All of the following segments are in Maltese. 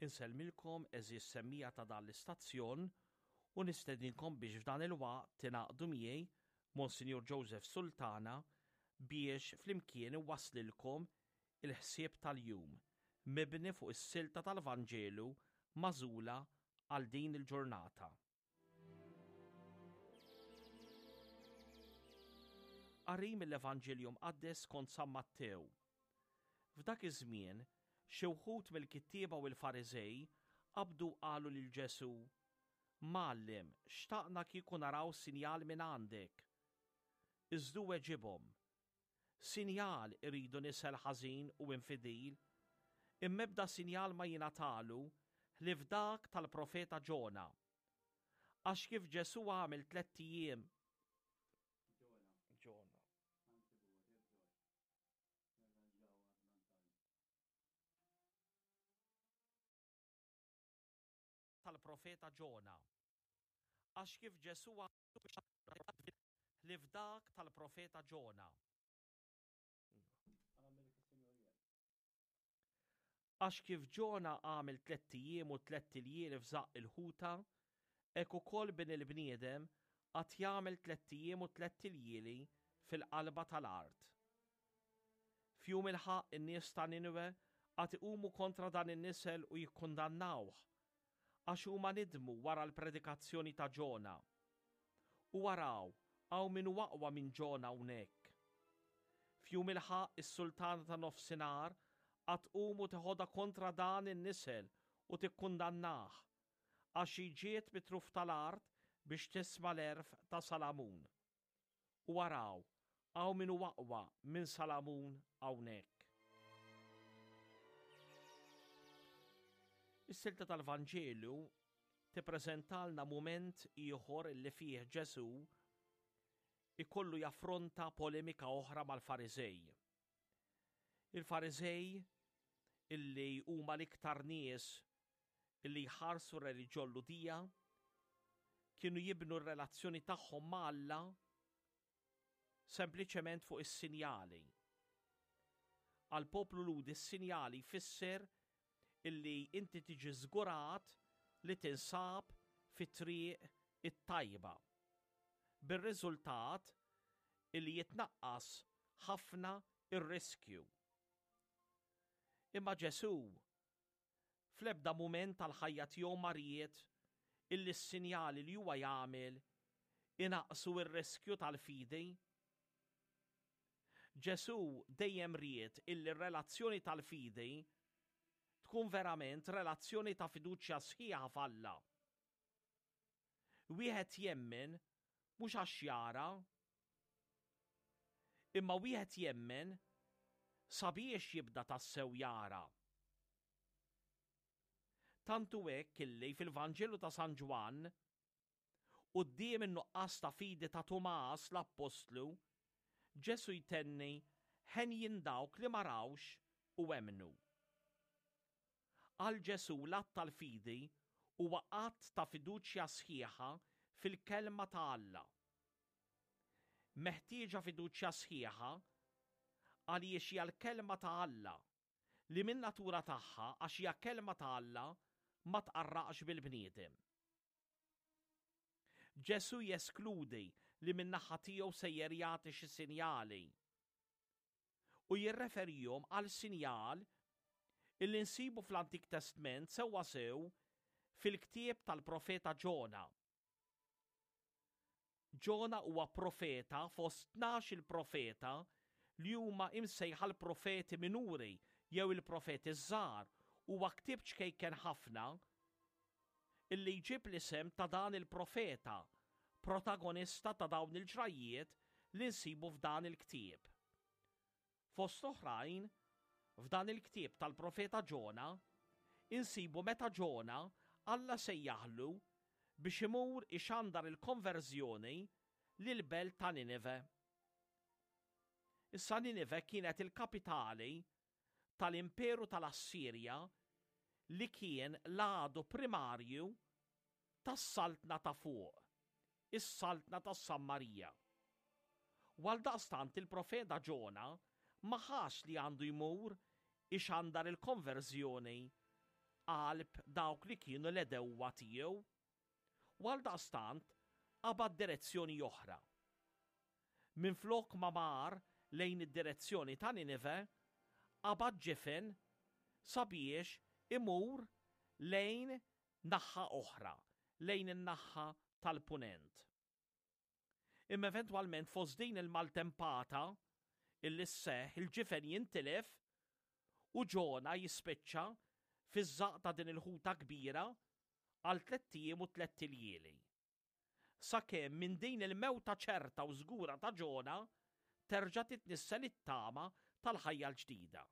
Insellmilkom għeżież semmiegħa ta' dan l-istazzjon u nistedinkom biex f'dan il-waqt tingħaqdu miegħi Monsinjur Joseph Sultana biex flimkien inwasslilkom il-ħsieb tal-jum mibni fuq is-silta tal-Vanġelu magħżula għal din il-ġurnata. Qari mill-Evanġelju Mqaddes skont San Mattew. F'dak iż-żmien, xi wħud mill-kittieba u l-Fariżej qabdu u qalu lil Ġesù, Mgħallem, xtaqna kieku naraw sinjal minn għandek. Iżda hu weġibhom, Sinjal iridu nisel ħażin u infidil, imma ebda sinjal ma jingħatalu ħlief dak tal-profeta Ġona. Għax kif Ġesù għamel tlett ijiem Ġona. Tal-profeta Ġona. Għax kif Ġesù ħlief dak tal-profeta Ġona. Għax kif Ġona għamel tlett ijiem u tlett iljieli f'żaqq il-ħuta, hekk ukoll Bin il-bniedem għad jagħmel tlett ijiem u tlett iljieli fil-qalba tal-art. F'jum il-ħaqq in-nies ta' Nineve għad iqumu kontra dan in-nisel u jikkundannawh, għax huma nidmu wara l-predikazzjoni ta' Ġona. U araw, hawn min hu aqwa minn Ġona hawnhekk. F'jum il-ħaqq is-sultana ta' nofsinhar għad tqum u teħodha kontra dan in-nisel u tikkundannah, għax hi ġiet mit-truf tal-art biex tisma' l-għerf ta' Salamun. U araw, hawn min hu aqwa minn Salamun hawnhekk. Is-silta tal-Vanġelu tippreżentalna mument ieħor li fih Ġesù ikollu jaffronta polemika oħra mal-Fariżej. Il-Fariżej illi huma l-iktar nies illi jħarsu r-reliġjon Lhudija kienu jibnu r-relazzjoni tagħhom ma' Alla sempliċement fuq is-sinjali. Għall-poplu Lhudi s-sinjali jfisser illi inti tiġi żgurat li tinsab fit-triq it-tajba. Bir-riżultat illi jitnaqqas ħafna ir-riskju. Imma Ġesù Fl-ebda mument tal-ħajja tiegħu ma ried illi s-sinjali li huwa jagħmel inaqqsu r-riskju tal-fidi. Ġesù dejjem ried illi r-relazzjoni tal-fidi tkun verament relazzjoni ta' fiduċja sħiħa f'Alla. Wieħed jemmen mhux għax jara, imma wieħed jemmen sabiex jibda tassew jara. Tant hu hekk illi fil-Vanġelu ta' San Ġwann, quddiem in-nuqqas ta' fidi ta' Tumas l-appostlu, Ġesù jtenni henjin dawk li ma rawx u emmnu. Għal Ġesù l-att tal-fidi huwa att ta' fiduċja sħiħa fil-Kelma ta' Alla. Meħtieġa fiduċja sħiħa għaliex hija l-Kelma ta' Alla li min-natura tagħha għax hija Kelma ta' Alla ma tqarraqx bil-bniedem. Ġesù jeskludi li min-naħa tiegħu sejjer jagħti xi sinjali u jirreferihom għal sinjal illi nsibu fl-Antik Testment sewwasew fil-ktieb tal-profeta Ġona. Ġona huwa profeta fost 12 il-profeta li huma imsejħa l-profeti minuri jew il-profeti ż-żgħar huwa ktieb ċkejken ħafna illi jġib l-isem ta' dan il-profeta, protagonista ta' dawn il-ġrajjiet li nsibu f'dan il-ktieb. Fost oħrajn, f'dan il-ktieb tal-profeta Ġona, insibu meta Ġona Alla sejjaħlu biex imur ixandar il-konverżjoni lill-belt ta' Ninive. Issa Ninive kienet il-kapitali tal-Imperu tal-Assirja li kien l-għadu primarju tas-saltna ta' fuq, is-saltna tas-Sammarija. U għaldaqstant il-profeta Ġona ma ħass li għandu jmur ixandar il-konverżjoni qalb dawk li kienu l-għedewwa tiegħu. U għaldaqstant qabad direzzjoni oħra. Minflok ma mar lejn id-direzzjoni ta' Ninive, qabad ġifen sabiex imur lejn naħa oħra, lejn in-naħa tal-Punent. Imma eventwalment fost din il-maltempata illi sseħħ il-ġifen jintilef u Ġona jispiċċa fiż-żaqq ta' din il-ħuta kbira għal tlett ijiem u tlett iljieli. Sakemm minn din il-mewta ċerta u żgura ta' Ġona terġa' titnissel it-tama tal-ħajja l-ġdida.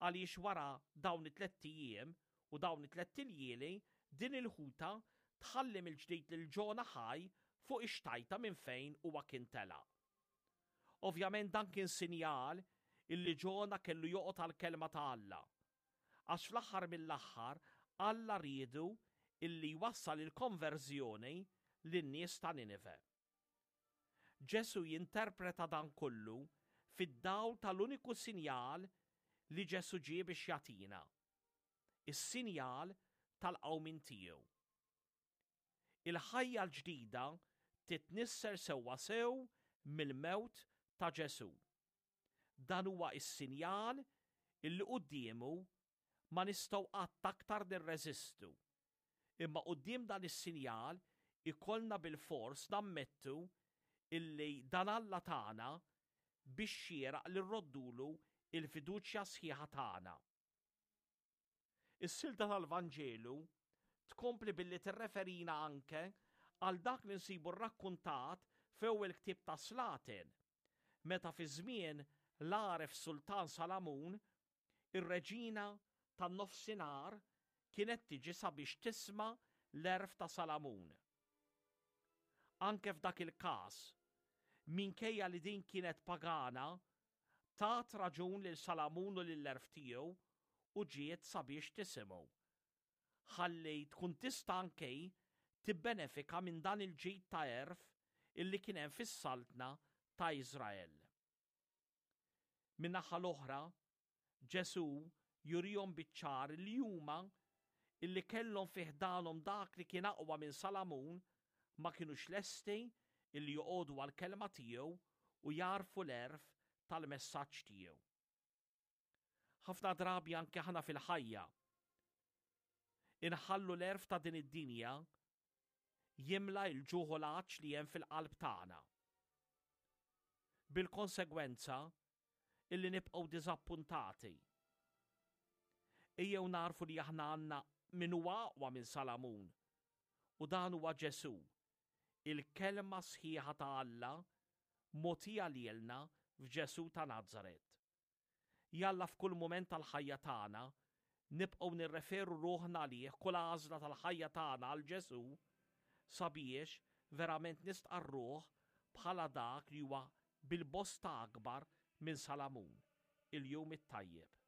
Għaliex wara dawn it-tlett ijiem u dawn it-tlett iljieli din il-ħuta tħalli mill-ġdid lil Ġona ħaj fuq ix-xtajta minn fejn huwa kien telaq. Ovvjament dan kien sinjal illi Ġona kellu joqgħod għall-kelma ta' Alla. Għax fl-aħħar mill-aħħar Alla riedu illi jwassal il-konverżjoni lin-nies ta' Ninive. Ġesù jinterpreta dan kollu fid-dawl tal-uniku sinjal li Ġesù ġie biex jagħtina, is-sinjal tal-qawmien tiegħu. Il-ħajja l-ġdida titnissel sewwasew mill-mewt ta' Ġesù. Dan huwa s-sinjal illi quddiemu ma nistgħu qatt aktar nirreżistu. Imma quddiem dan is-sinjal ikollna bilfors nammettu illi dan Alla tagħna bix-xieraq li rroddulu l-fiduċja sħiħa tagħna. Is-silta tal-Vanġelu tkompli billi tirreferina anke għal dak li nsibu rrakkuntat f'ewwel ktieb tas-Slaten, meta fi żmien l-għaref Sultan Salamun, ir-reġina tan-Nofsinhar kienet tiġi sabiex tisma' l-għerf ta' Salamun. Anke f'dak il-każ, minkejja li din kienet pagana, tat raġun lil Salamun u lill-għerf tiegħu u ġiet sabiex tisimgħu, ħalli tkun tista' anke hi tibbenefika minn dan il-ġid ta' għerf illi kien hemm fis-saltna ta' Iżrael. Min-naħa l-oħra, Ġesù jurihom biċ-ċar li huma, illi kellhom fi ħdanhom dak li kien aqwa minn Salamun, ma kinux lesti illi joqogħdu għall-kelma tiegħu u jagħrfu l-għerf tal-messaġġ tiegħu. Ħafna drabi anke aħna fil-ħajja inħallu l-għerf ta' din id-dinja jimla l-ġuħ u l-għatx li hemm fil-qalb tagħna. Bil-konsegwenza illi nibqgħu diżappuntati. Ejjew nagħrfu li aħna għandna min huwa aqwa minn Salamun, u dan huwa Ġesù, il-Kelma sħiħa ta' Alla mogħtija lilna f'Ġesù ta' Nazaret. Jalla f'kull mument tal-ħajja tagħna nibqgħu nirreferu ruħna għalih kull għażla tal-ħajja tagħna għal Ġesù sabiex verament nistqarruh bħala dak li huwa bil-bosta akbar minn Salamun. Il-Jum it-Tajjeb.